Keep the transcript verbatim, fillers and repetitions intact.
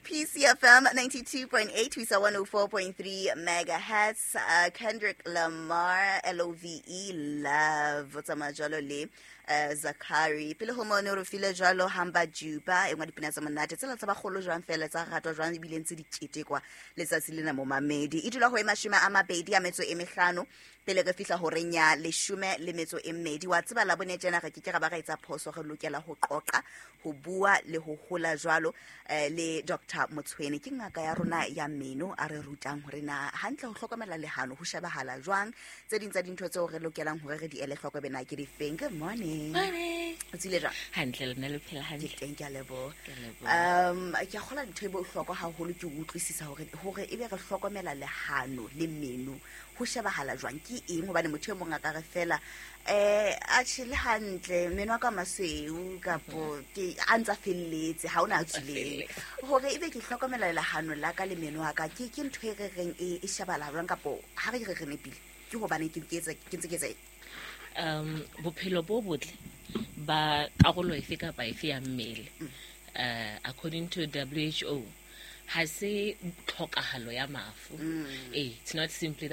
P C F M ninety-two point eight ho isa one oh four point three megahertz. uh, Kendrick Lamar, L O V E, Love, o tsamaya jwalo le uh, Zakari. Pele ho mone re file jwalo Hamba Juba, e nngwe dipina tsa monate tsela tsa bagolo jwang fela tsa ratwa jwang ebile ntse di ketekwa letsatsi lena. Momamedi, e dula ho e mashome a mabedi a metso e mehlano pele re fihla horeng ya leshome le metso e mmedi. Wa tseba la bone tjena re ke ke ra ba ra etsa phoso. Re lokela ho qoqa, ho bua le ho hola jwalo eh, le Doctor Motshwene, ke ngaka ya rona ya meno, a re rutang hore na hantle ho hlokomela lehano ho shebahala jwang, tse ding tsa dintho tseo re lokelang hore re di ele hloko bena ke difeng. Good morning. Morning. O tsile jwang? Hantle, lena le phela Ke hantle? teng, ke a leboha. Ke a leboha. um ke a kgola ntho e bohlokwa haholo ke ho utlwisisa hore hore ebe re hlokomela lehano le meno ho shebahala jwang, ke eng, hobane motho e mong a ka re fela um atjhe, le hantle meno a ka masweu kapo ke a ntsa felletse, ha ona a tswileng. Hore ebe ke hlokomela lehano la ka le meno a ka, ke ke ntho e re reng e e shebahala jwang, kapo ha re re re nepile ke hobane ke ke etsa ke ntse ke etsa eng? um bophelo bo botle ba karolo efe kapa efe ya mmele, uh, according to W H O, ha se tlhokahalo ya mafu. Eh, it's not simply